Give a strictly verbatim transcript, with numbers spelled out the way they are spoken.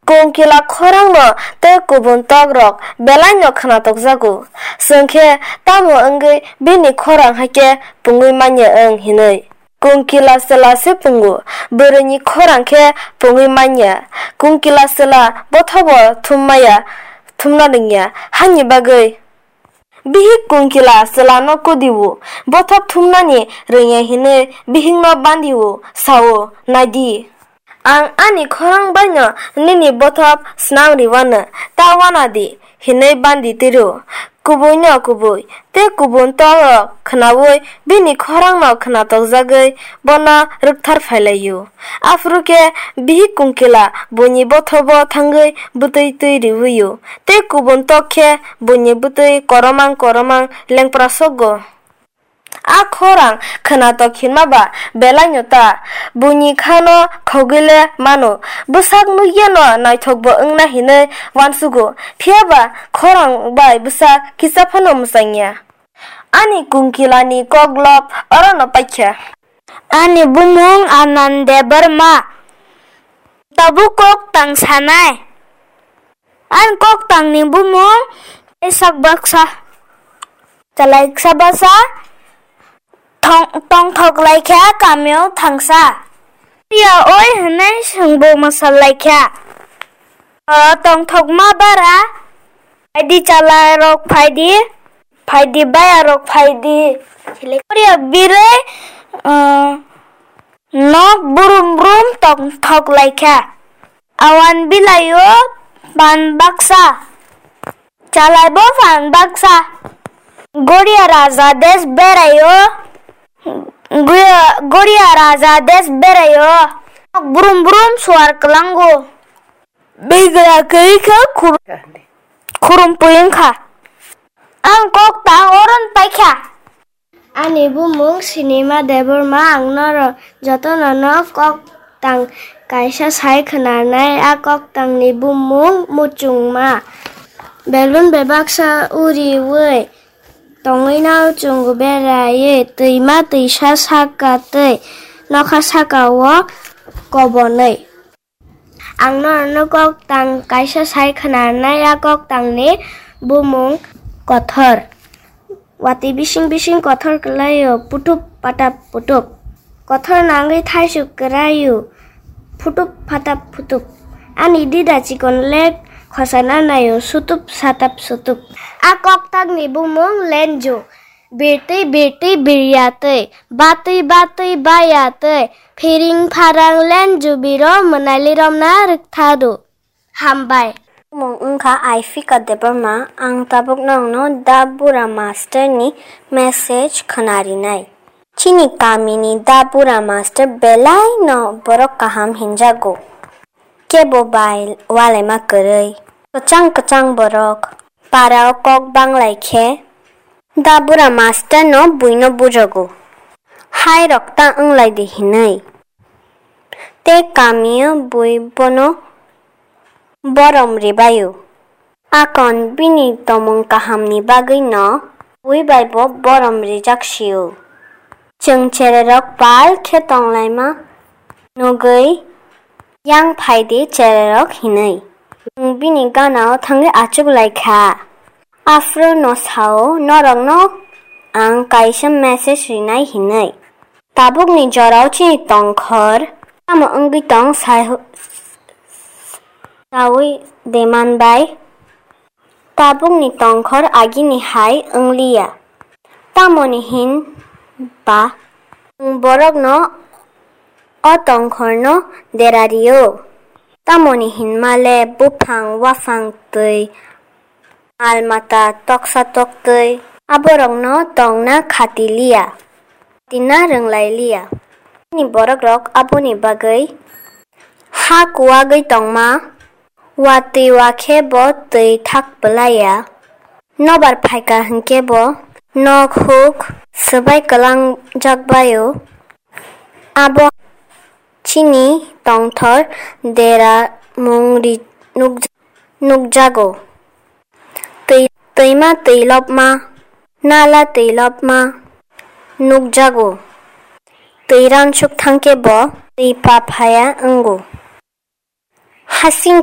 Kungkila khorangno tei kubun tokrok belaino khwnathokjago. Chwng khe tamo wngwi bini khorang hai khe pungwi manya wng hinwi? Kungkila chwla se pungo, bwrwini khorang khe pungwi manya. Kungkila chwla bothobo thum maya, thumna rwngya, hani bagwi? Bihik kungkila chwlano kudio, bothop thumnani rwngya hinwi bihikno bandio, sao, "Naidi, ang ani khorang baino nini bothop snam riwano, ta wana di," hinwi bandi tiro. Kubuino kubui tei kubun tokrok khwnaui bini khorangno khwnatokjagwi bono rwkthar phailaio. Aphuru khe bihik kungkila buini bothobo thangwi bwtwi twi riwio. Tei kubun tok khe buini bwtwi koromang koromang lengpra sokgo. A khorang khwnatok hinma ba belaino ta, buini khano khogwi le mano. Bwsak nukyano naithokbo wngna hinwi uansugo, phiya ba khorang bai bwsak kisa phano mwchangya. Ani kungkilani koklop orono paikha. Ani bumung Anand Debbarma. Tabuk kok tang sanai. Ang kok tangni bumung Isak baksa. Chalai ksa basa thong-, tongthok laikha kamio thangsa. Priya oi hwnwi swngbo mwsal laikha. O tongthokma bara, phaidi chalai rok phaidi, phaidi baya rok phaidi. Priya birwi, uh, nok brum brum tongthok laikha. Awan bilaio pan baksa. Chalaibo pan baksa. Goria raja des beraio. Goria, Goria raja des beraio. Brum brum suar klango. Begra khe kha khur-, khurum puyung kha. Ang kok tang oron paikha. Ani bumung Sinima Debbarma, ang norok jotono no kok tang kaisa sai khwnarnai, a kok tangni bumung Muchungma. Belun bebaksa uriui tongwi no chwng beraiwi twima twisa saka tei nokha saka o kobonwi. Ang norokno kok tang kaisa sai khwnarnai, a kok tangni bumung Kothor. Watwi bising bising kothor kwlaio, putup patap putup. Kothor nangwi thaisuk kwraio, phutup phatap phutup. Ani dida chikon lek khosana naio, sutup satap sutup. A kok tangni bumung Lenju. Birtwi birtwi birya twi, batwi batwi baya twi, phiring pharang lenju biro mwnaili romna rwkthadu. Hambai. Mung wngkha Aifika Debbarma, ang tabuk nokno Da Bura Master ni message khwnarinai. Chini kamini Da Bura Master belai no borok kaham hinjago. Kebo bai walaima kwrwi. Kwchang kwchang borok parao kok banglai khe Da Bura Master no buino bujogo. Hai rok ta wnglai di hinwi. Tei kamio bui bono borom ribaio. Akon bini tomung kahamni bagwi no bui bai bo borom rijak sio. Chwng chererok pal khe tonglaima nugwi yang phai di chererok hinwi. Chwng bini ganao thangwi achuk lai kha. Aphuru no sao norokno ang kaisa message rinai hinwi. Tabukni jorao chini tongkhor tamo wngwi tong sai-, saui deman bai. Tabukni tongkhor agini hai wngliya. Tamoni hin ba chwng borokno o tongkhorno dera rio. Tamoni hinmale buphang waphang twi mal mata toksa toktwi aborokno tongna khati liya, tina rwnglai liya. Chini borok rok aboni bagwi ha kuwagwi tongma, watwi wakhe bo twi thak bwlaiya. Nobar phaikha hinkhe bo nok huk swbai kwlangjak baio. Abo chini tongthor dera mung ri-, nukja-, nukjago. Twi-, twima twilopma, nala twilopma nukjago. Twi ransuk thangkhe bo twi paphaya wngo. Hasing